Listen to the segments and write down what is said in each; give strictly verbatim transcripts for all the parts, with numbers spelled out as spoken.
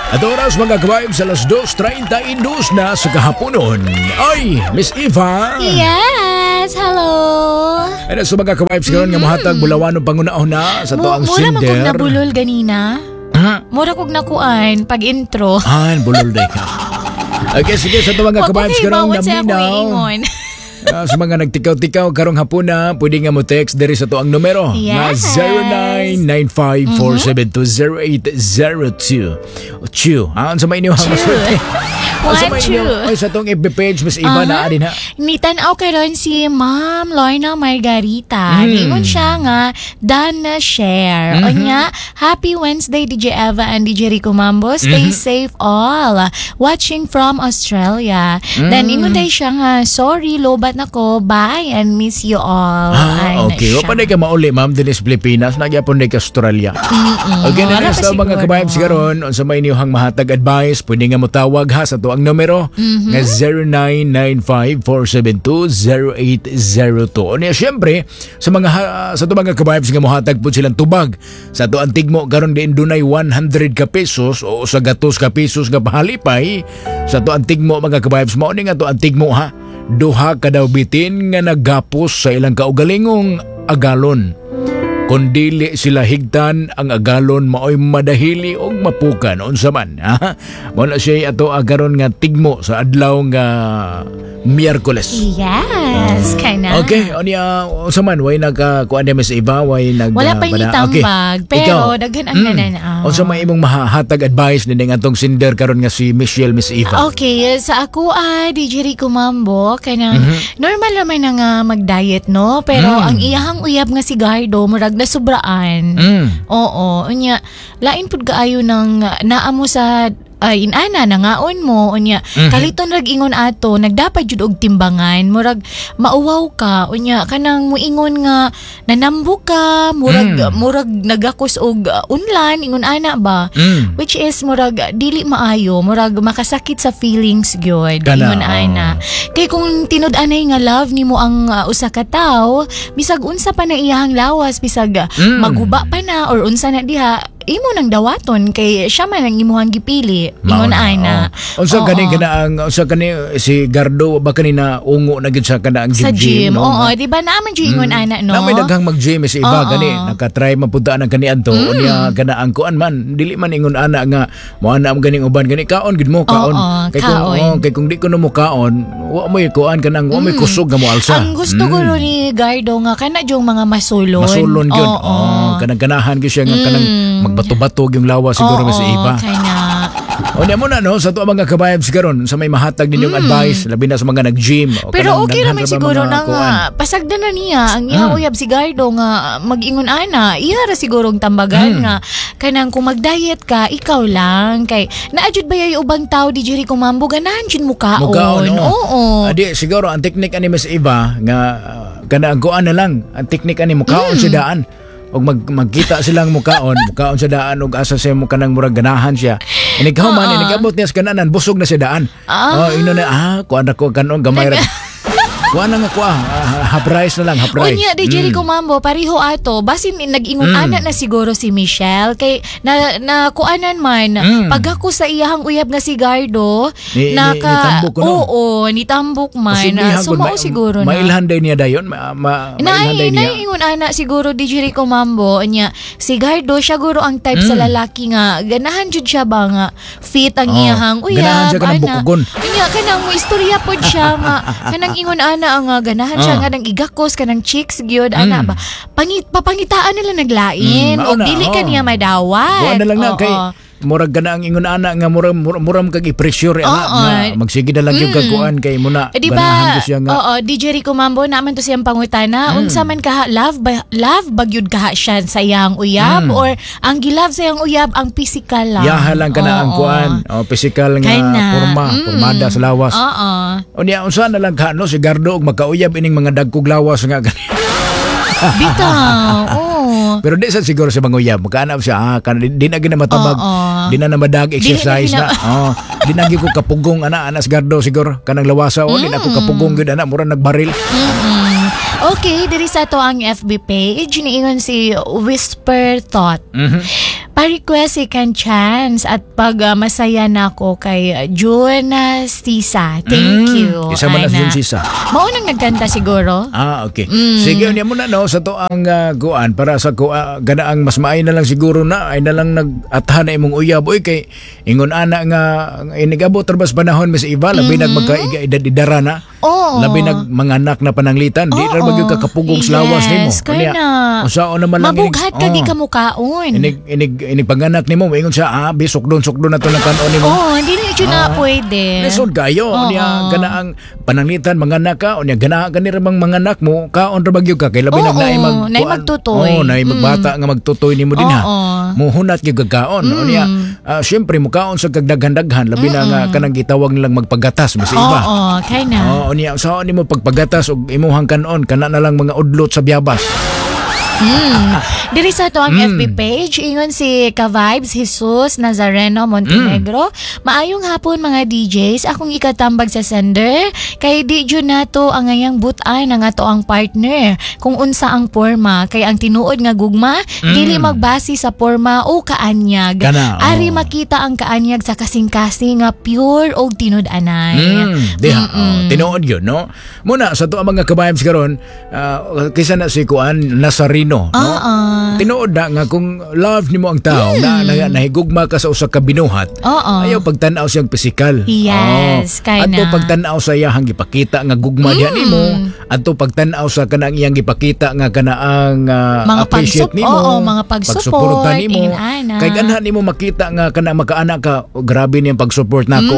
At oras, mga ka-vibes, alas dos trenta y dos na sa kahaponon. Ay, Miss Eva! Yes! Hello! Ano sa mga ka-vibes karon nga mohatag bulawanong panguna-una sa to ang Mura man kog sender. Nabulol ganina. Ha? Mura kog nakuan pag intro. Ah, bulol day ka. Okay, sige, sa to mga Wa ko ka-vibes kay karon bawat sa akong naminaw. Iingon. Ah, sa mga nagtikaw-tikaw karong hapuna, pwede nga mo text diri sa to ang numero nga Yes. zero nine nine five, four seven two, zero eight zero two. Chu. Ah, unsa may inyong masulti? Unsa One, may two. inyong oy, sa tong F B page, Miss Eva, Aha. naa din ha? Nitan-aw karon si Ma'am Lorna Margarita. Mm. Ningon siya nga done na share. Mm-hmm. Unya, happy Wednesday, D J Eva and D J Rico Mambo. Stay Mm-hmm. safe all. Watching from Australia. Mm. Then ingon day siya nga, "Sorry, lobat na ko. Bye and miss you all." Ah, Ay, na okay. siya. Wa pa ka mauli, ma'am, dinhi sa Pilipinas. Nagyapon day ka Australia. Okay na Wala na pa sa mga siguro. ka-vibes karon, unsa may inyong mahatag advice, pwede nga mo tawag ha sa to ang numero Mm-hmm. nga zero nine nine five, four seven two, zero eight zero two. Unya syempre sa mga ha- sa to mga ka-vibes nga mohatag pud silang tubag sa to ang tigmo karon diin dunay one hundred ka pesos o sa gatos ka pesos nga pahalipay sa to ang tigmo, mga ka-vibes, mao ni nga to ang tigmo ha: duha ka daw bitin nga naggapos sa ilang kaugalingong agalon. Kung dili sila higtan, ang agalon maoy madahili og mapukan. Unsa man, ha? Mao na siya ato karon nga tigmo sa adlaw nga Miyerkules. Yes, kana. Okay, unya unsa man, way nagka kuan ni Miss Eva, way nag Wala pa bana- nitambag, Okay. pero Ikaw, daghan ang mm, nananaw. Unsa may imong mahatag advice ning atong sender karon nga si Michelle, Miss Eva? Okay, sa ako ah, D J Rico Mambo, kanang Mhm. normal naman na nga mag-diet, no? Pero Mm. ang iyahang uyab nga si Gardo, murag nasubraan. Mm. Oo, unya, lain pud kaayo nang naa mo sa ay inana nangaon mo, unya Mhm. kaliton rag ingon ato nagdapat jud og timbangan, murag mauwaw ka, unya kanang muingon nga nanambok ka, murag Mm. murag nagakos og uh, unlan, ingon ana ba, Mm. which is murag dili maayo, murag makasakit sa feelings gyud, Kana, ingon ana. Kay kung tinud-anay nga love nimo ang uh, usa ka tawo, bisag unsa pa na iyahang lawas, bisag uh, Mm. maguba pa na or unsa na diha, imo nang dawaton kay siya man ang imuhang gipili, Mao ingon na, ana. oh. Unsa Oo. gani kana ang unsa kani si Gardo ba kanina ungo na gid sa kana ang Sa gym, no? oo, di ba naman jud ingon ana, no? Na may daghang mag-gym si iba Oo. gani naka-try man pud ang kaniadto mm. Unya kana ang kuan man, dili man ingon ana nga mo ana mo ganing uban gani kaon gid mo kaon, Oo, kay kung kaon. Oh, kay kung di ko no mo kaon, wa mo kuan kanang wa mo kusog nga mo alsa. Ang gusto ko ro ni Gardo nga kana jung mga masulon. Masulon gyud. Oo. Oh, kanang ganahan gyud siya nga kanang magbato-bato yung lawas siguro Oo, si iba. kana. O niya mo na no sa to ang mga ka-vibes karon sa may mahatag ninyong advice labi na sa mga nag-gym o Mm. Pero kanang okay daghan raman ra ba siguro mga na kuan. nga pasagdan na niya ang iyang Mm. uyab si Gardo nga mag-ingon ana, iya ra sigurong tambagan Mm. nga kanang kung mag-diet ka, ikaw lang, kay naajud ba yung ubang tao, di Jericho Mambo, ganahan jud mukaon? Mukaon, oh. Oo. Adi, siguro ang teknik ani Miss Eva nga uh, kana ang kuan na lang, ang teknik ani mukaon Mm. sa daan. Og mag magkita silang mukaon, mukaon sa daan og asa siya mo kanang murag ganahan siya. Inig man, inigabot niya sa kananan, busog na siya daan. Ah. Oh, ino na ah, kuan na ko kanon gamay ra. Kuan na nga kuan, ah, half rice na lang, half rice. Unya, di Jericho Mambo, pareho ato. Basin nag-ingon Mm. ana na siguro si Michelle. Kay na, na kuanan man, Mm. pag ako sa iyahang uyab nga si Gardo, Ni- ni- naka, nitambok ko, no? Oo, nitambok man. Posible So, hagod, mao ma- siguro na. Mailhan day niya dayon, ma, ma, mailhan day Naay, niya. naingon ana siguro di Jericho Mambo nya si Gardo siya guro ang type sa Mm. lalaki nga ganahan jud siya ba nga fit ang Oh, iyahang uyab ganahan siya kanang ana. bukugon. Unya kanang mo istorya pod siya nga kanang ingon ana nga ganahan siya Ah. nga nang igakos kanang chicks gyud ana Mm. ba, pangit papangitaan nila naglain Mm, o mao na, dili oh. ka niya madawat. Kuan na lang na Oo. kay murag kana ang ingon ana nga murag murag, murag kag i-pressure ana Oo. nga magsige na lang yung Mm. kag kuan kay muna Eh, di ganahan ba? ko siya nga. Oo, D J Rico Mambo, naman to siyang pangutana. Mm. Unsa man kaha love ba, love bagyud kaha siya sa iyang uyab Mm. or ang gilove sa iyang uyab ang physical lang? Yaha lang kana ang Oo. kuan, o physical nga Kana. porma, Mm. pormada sa lawas. Oo. Unya unsa na lang ka no si Gardo og makauyab ining mga dagkog lawas nga gani? Bitaw. Oo. Pero di sa siguro sa manguyab, makaanap siya, ah, kan, di, di na gina matabag, Oo. di na na madag exercise Dili na. na. Oh, di na gyud ko kapugong ana anas Gardo siguro kanang lawasa, oh, di na ko kapugong gyud ana, mura nagbaril. Mm-mm. Okay, diri sa to ang F B page, niingon si Whisper Thought. Mhm. Pa-request second chance at pag ah, masaya na ako kay uh, June ah, Sisa. Thank Mm, you. Isa man na si Ana. June Sisa. Mao nang nagkanta siguro. Ah, okay. Mm. Sige, unya mo na no sa to ang uh, kuan para sa ku uh, ganaang mas maay na lang siguro na ay na lang nag-atha na imong uyab oy kay ingon ana nga inigabot ra bas panahon, Miss Eva, labi mm-hmm. nag magka-edad-edara na. Oo. Labi nag manganak na pananglitan, di ra Oo. magyud ka kapugong sa lawas nimo. Yes, kaya na. Unsaon naman lang inig- Mabughat ka oh. di ka mukaon. Inig inig inig panganak nimo, moingon siya, ah, bisukdon sukdon na to ng kanon nimo. Oo, hindi na yun na pwede. Lisod kayo. Oo. Unya ganaang pananglitan manganak ka, unya gana gani ra bang manganak mo, kaon ra magyud ka kay labi Oo, nag naay mag naay kuan- magtutoy. Oo, naay magbata nga magtutoy nimo din ha. Oo. Muhunat gyud kag kaon. Unya ah, syempre mukaon sa kagdaghan-daghan labi na nga kanang gitawag nilang magpagatas mas iba. Oo, kaya na. Oo, unya sa nimo pagpagatas og imuhang kanon kana na lang mga udlot sa biyabas. Mm. Diri sa ato ang Mm. F B page, ingon si Ka-Vibes Jesus Nazareno Montenegro. Mm. "Maayong hapon mga D Js, akong ikatambag sa sender kay di jud nato ang ngayang butan ang ato ang partner kung unsa ang porma kay ang tinuod nga gugma dili magbase sa porma o kaanyag. Mm. Kana, oo. Ari makita ang kaanyag sa kasing-kasing nga pure og tinud-anay." Mm, diha, oh, tinuod yun, no? Muna, sa to ang mga ka-vibes karon, ah, kaysa na si Kuan Nazareno, no? Oo. Tinuod na nga kung love nimo ang tao, na, na nahigugma ka sa usa ka binuhat, Oo. ayaw pagtan-aw siyang pisikal. Yes, kay Adto na. pagtan-aw sa iyang gipakita nga gugma diha nimo, adto pagtan-aw sa kanang iyang gipakita nga kanaang ah, Mga appreciate pagsup- nimo, oo, mga pag-support, pagsuporta nimo. ingon-ana. Kay ganhan nimo makita nga kana makaana ka, "Oh, grabe niyang pag-support nako.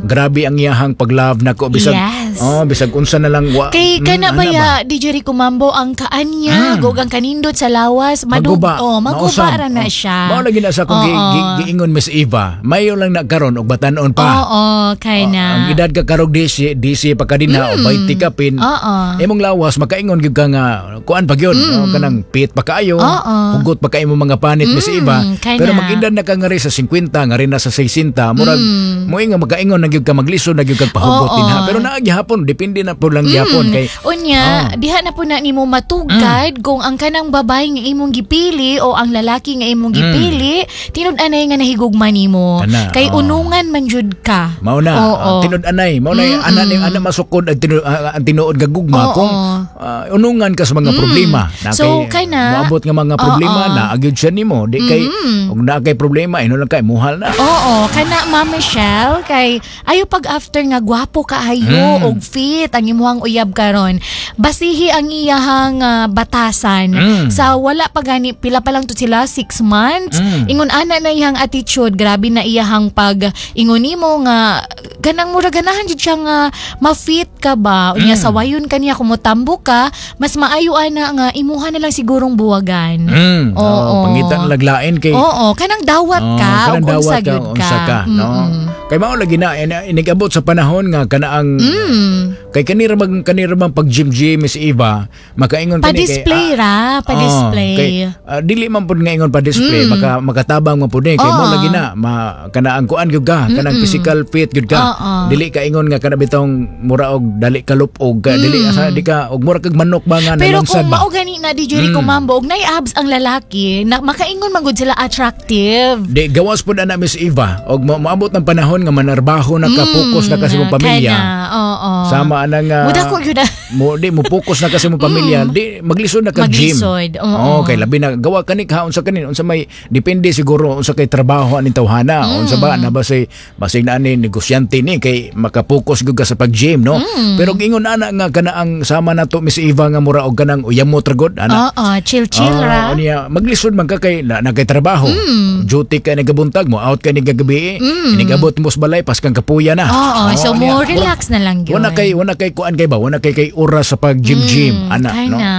Grabe ang iyahang pag-love nako bisag Mm. Yes. oh, bisag unsa na lang wa." Kay mm, kana ana ba ya D J Rico Mambo ang kaanyag ug ang kanindot sa lawas madug Maguba. oh, maguba Mausab. ra na Oh. siya. Mao lagi na sa akong gi- Oo. gi- giingon, Miss Eva. Mayo lang na karon og batan-on pa. Oo, kay na. Ang edad ka karog D C, D C pa ka din ha, o twenty ka pin. Oo. Imong lawas makaingon gyud ka nga kuan pa gyud, no? Kanang pit pa kaayo, Oo. hugot pa kaayo imong mga panit, Miss Eva. Kay Pero na. mag-edad na ka nga rin sa singkwenta, nga rin na sa sesenta, murag mo nga makaingon na gyud ka maglisod na gyud kag pahugot Oo. din ha. Pero naa gihapon, depende na po lang gihapon kay Unya, Oh. diha na po na nimo matugkad Mm. kung ang kanang babae nga imong gipili o ang lalaki nga imong gipili, tinud-anay nga nahigugma nimo. Mm. Kana, Kay oh. unungan man jud ka. Mao na, Oo. uh, tinud-anay, mao na ana ni ana masukod ang tinud ah, ang tinuod nga gugma Oo. kung ah, unungan ka sa mga problema. Na So, kay na- moabot nga mga problema Oo. na agyud siya nimo, di kay ug naa kay problema ino lang kay muhal na. Oo, kana Ma'am Michelle kay ayo pag after nga gwapo kaayo Mm. og fit ang imuhang uyab karon. Basihi ang iyahang ah, batasan Mm. sa wala pa gani pila pa lang to sila six months. Mm. Ingon ana na iyang attitude, grabe na iyahang pag ingon nimo nga ganang mura ganahan jud siya nga ma-fit ka ba. Unya Mm. sawayon ka niya kung motambo ka, mas maayo ana nga imuha na lang sigurong buwagan. Mm. Oo. Oo, pangita na laglain kay Oo, kanang dawat Oo, ka kanang ug unsa dawat ka, gyud ka. unsa ka, no? Mm-mm. Kay mao lagi na in- inigabot sa panahon nga kanaang Mm. kay kanira bang kanira bang pag gym gym Miss Eva, makaingon kani kay Pa-display ra, pa-display. Oh, kay, ah, dili man pud nga ingon pa-display, maka makatabang man pud ni kay mo Oo. lagi na ma kanaang kuan gyud ka, kanang physical fit gyud ka. Oo. Dili ka ingon nga kana bitong mura og dali ka lupog ka, dili asa di ka og mura kag manok ba nga Mm. Pero nalungsad kung ba. mao gani na D J Rico Mambo og nay abs ang lalaki, na makaingon man gud sila attractive. Di gawas pud ana Miss Eva og mo moabot ng panahon nga manarbaho na ka, focus na ka sa imong pamilya. Kana, oo. Sama anang uh, Muda ko gyud ah. mo di mo focus na ka sa imong pamilya, di maglisod na ka gym. Maglisod, oo. Oh, kay labi na gawa kani kaon sa kanin unsa may depende siguro unsa kay trabaho aning tawhana, Mm. unsa ba na ba say basig na ani negosyante ni kay makapokus gyud ka sa pag-gym, no? Mm. Pero ingon ana nga kana ang sama nato Miss Eva nga mura og kanang uyamot ra gud ana. Oo, chill chill Ah, ra. Unya, maglisod man ka kay na, na kay trabaho. Mm. Duty ka nagabuntag mo, out ka ni gagabi. Mm. Inigabot mo sa balay paskang kapuya na. Oo, so unya, mo relax na lang gyud. Wala kay wala kay kuan kay ba, wala kay kay oras sa pag gym gym ana Kay no. na.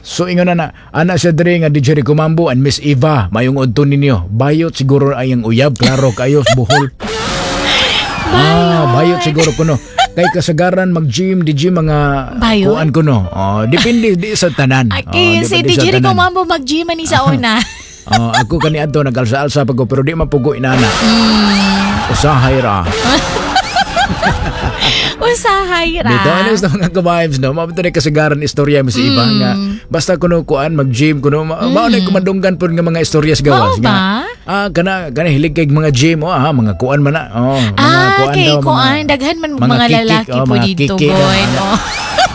So ingon na na ana siya diri nga D J Rico Mambo and Miss Eva, mayong udto ninyo. Bayot siguro ay ang uyab, klaro kayo sa Bohol. Ah, bayot siguro kuno. Kay kasagaran mag-gym, di gym mga Bayot? kuan kuno. Oh, depende di sa tanan. Ay, Oh, kay si depende sa D J Rico tanan. Mambo mag-gym ani sa una. Oh, ako kani adto nagalsa-alsa pag ko, pero di man pugo inana. Mm. Usahay ra. Usahay ra. Dito ano sa mga ka-vibes no, mao ni kasagaran istorya Miss Iba Mm. nga basta kuno kuan mag-gym kuno ma- mao na kumadunggan pud nga mga istorya sa gawas Mao nga ba? Ah, kana kana hilig kay mga gym, oh, ah, mga kuan man na. Oh, mga Ah, kuan kay daw, kuan, daghan man mga, kikik, lalaki oh, po mga dito, kiki daw, boy. ana. Oh.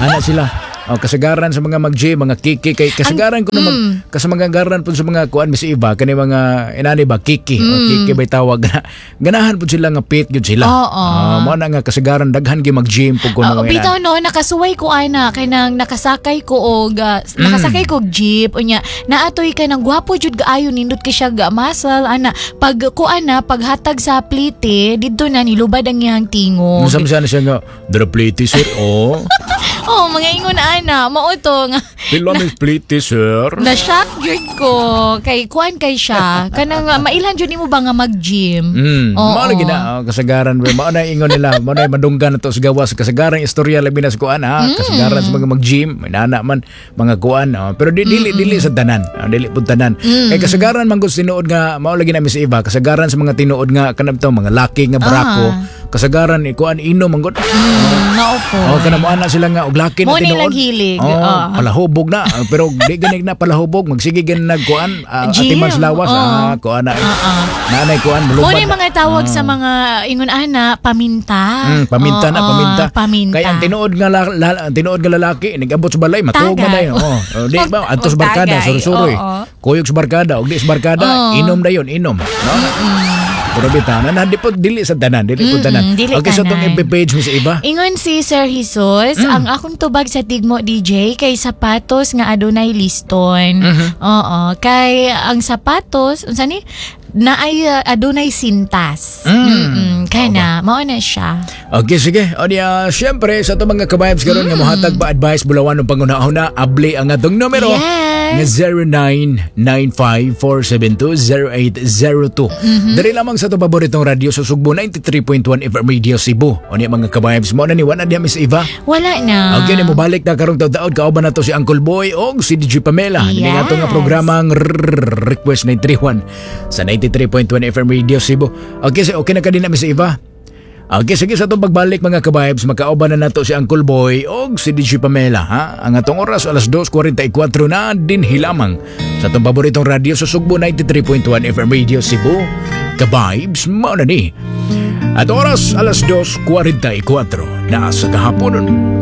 Ana sila. Oh, kasagaran sa mga mag-gym, mga kiki kay kasagaran ko na mag mm. kasamangagaran po sa mga kuan, Miss Eva, kani mga inani ba, kiki, mm. kiki bay tawag na. Ganahan po sila nga fit gyud sila. Oo. Ah, mao na nga kasagaran daghan gyud mag-gym pug kuno Oo, mga bitaw inani. No, nakasuway ko ana kay nang nakasakay ko og ah, Mm. nakasakay ko og jeep, unya naatoy kay nang gwapo jud kaayo, nindot kay siya ga muscle ana. Pag ko ana, paghatag sa plite didto na nilubad ang iyang tingog. Unsa man siya na siya nga dra plite, sir? Oh. Oh, mga ingon ana, mao to nga Pila may plite, sir? Na shock jud ko kay kuan kay siya kanang uh, mailhan jud nimo ba nga mag-gym. Mm, Oo. mao lagi na, oh, kasagaran ba, mao na ingon nila, mao na madunggan na to sa gawas, kasagaran istorya labi na sa kuan, ha, Mm. kasagaran sa mga mag-gym, inana man mga kuan, oh, pero di dili dili sa tanan, oh, dili pud tanan. Mm. Kay kasagaran man gud tinuod nga mao lagi na, Miss Eva, kasagaran sa mga tinuod nga kanang to mga laki nga brako, Ah. kasagaran ikuan inom man gud. Mm, mao po. Oh, kana mo ana sila nga og laki na Mo na tinuod. ilang hilig. Oh, Ah. palahubog na. Ah, pero di ganig na palahubog, magsige gani nagkuan, uh, Gym. atiman sa lawas, Oh. ah, kuan na. Ah. Naanay kuan Mo mulubad na na. mga tawag sa mga ingon ana, paminta. Mm, paminta na, Oo, paminta. Paminta. Kaya ang tinuod nga la, la, ang tinuod nga lalaki nigabot sa balay, matuog man Tagay. dayon. Oh, oh, di ba adto sa barkada, Tagay, suroy-suroy. oo. Kuyog sa barkada, og di sa barkada, Oo. inom dayon, inom. No? Pero bitaw na, na di po dili sa tanan, dili po tanan. Dili Okay, so tong tanan. F B page mo sa iba. Ingon si Sir Jesus, Mm. ang akong tubag sa tigmo, D J, kay sapatos nga adunay liston. Mm-hmm. Oo, kay ang sapatos, unsa ni? Naay uh, adunay sintas. Mm. Mm. Kaya na, mao na siya. Okay, sige. O niya, syempre, sa itong mga ka-vibes karon nga mohatag ba advice bulawan ng pangunahuna, abli ang atong numero. Yes. Nga zero nine nine five, four seven two, zero eight zero two. Mm-hmm. Diri lamang sa itong paboritong radyo sa Sugbo, ninety-three point one F M Radio Cebu. O niya, mga ka-vibes, mo na ni wala diya, Miss Eva. Wala na. Okay, ni mobalik na karong taud-taud, kauban na to si Uncle Boy o si D J Pamela. Yes. Yes. Nga nga programang Request nine three one sa ninety-three point one F M Radio Cebu. Okay, so okay na ka din na, Miss Eva? Okay, sige, sa itong pagbalik, mga ka-vibes, makauban na nato si Uncle Boy o si D J Pamela. Ha? Ang atong oras, alas dos kwarenta y kwatro na din hilamang sa itong paboritong radyo sa Sugbo, ninety-three point one F M Radio Cebu. Ka-vibes, mao na ni. At oras alas dos kwarenta y kwatro na sa kahaponon.